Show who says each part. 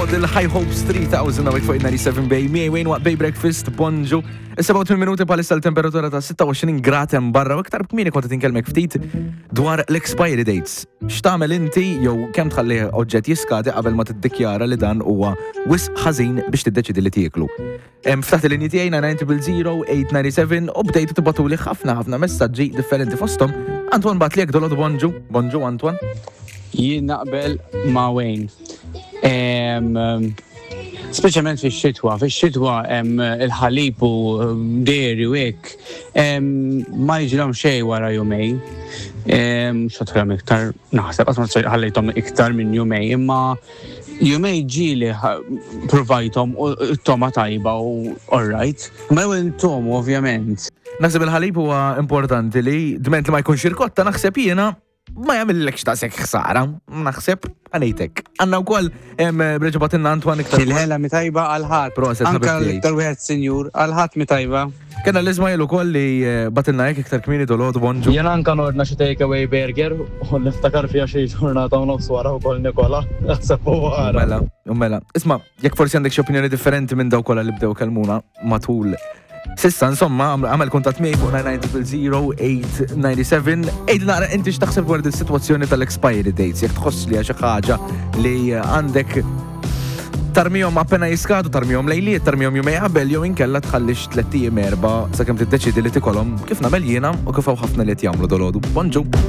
Speaker 1: Model High Hopes 3000 hawnhekk fuq 97 Bay miegħi Wayne waqt Bay Breakfast bonġu. Is-87 minuti bħalissa l-temperatura ta' 26 grad hemm barra u iktar kmieni kont qed inkellmek ftit dwar l-expiry dates. X'tagħmel inti jew kemm tħalli oġġett jiskadi qabel ma tiddikjara li dan huwa wisq ħażin biex tiddeċidi li tieklu. Ftaħt il-linji tiegħi 990 u bdejtu tibatuli ħafna ħafna messaġġi differenti fosthom. Antoine bat li jekk dolod bonġu. Bonġu Antoine.
Speaker 2: Jien naqbel ma' Wayne. Speċjalment fix-xitwa, fix-xitwa il-ħalib u dairy u hekk ma jiġilhom xejn wara jumej. Xotħilhom iktar, naħseb, qatt ma ħallejthom iktar minn jumej, imma Jumej ġieli provajthom u t-toma tajba u alright. Ma l-ewwel intomu ovvjament.
Speaker 1: Naħseb il-ħalib huwa importanti li dment li ma jkunx irkotta naħseb jiena ma jagħmillekx daqshekk ħsara. Naħseb għalejtek. Għandna wkoll reġa' batilna Antoine iktar.
Speaker 2: Il-ħela mi tajba għal ħadd.
Speaker 1: Proset
Speaker 2: Anka l-iktar wieħed sinjur għal ħadd mi tajba.
Speaker 1: Kena l-Ismail ukoll li eh, batilna hekk iktar kmieni dolgħodu bonġu.
Speaker 3: Jien anka nordna xi take away burger u niftakar fiha xi ġurnata u nofs wara wkoll Nikola. Naħseb u wara.
Speaker 1: Mela, mela. Isma' jekk forsi għandek xi opinjoni differenti minn dawk kollha li bdew kelmuna matul Sissa, insomma, għamel kuntatt miegħi fuq 990 Ejdi naqra inti x'taħseb dwar is-sitwazzjoni tal-expiry dates, jekk tħoss li xi ħaġa li għandek tarmihom appena jiskadu, tarmihom lejliet, tarmihom jumej qabel jew inkella tħallix tlett ijiem erba' sakemm tiddeċiedi li tikolhom kif nagħmel jiena u kif hawn ħafna li qed jagħmlu dolodu. Bonġu!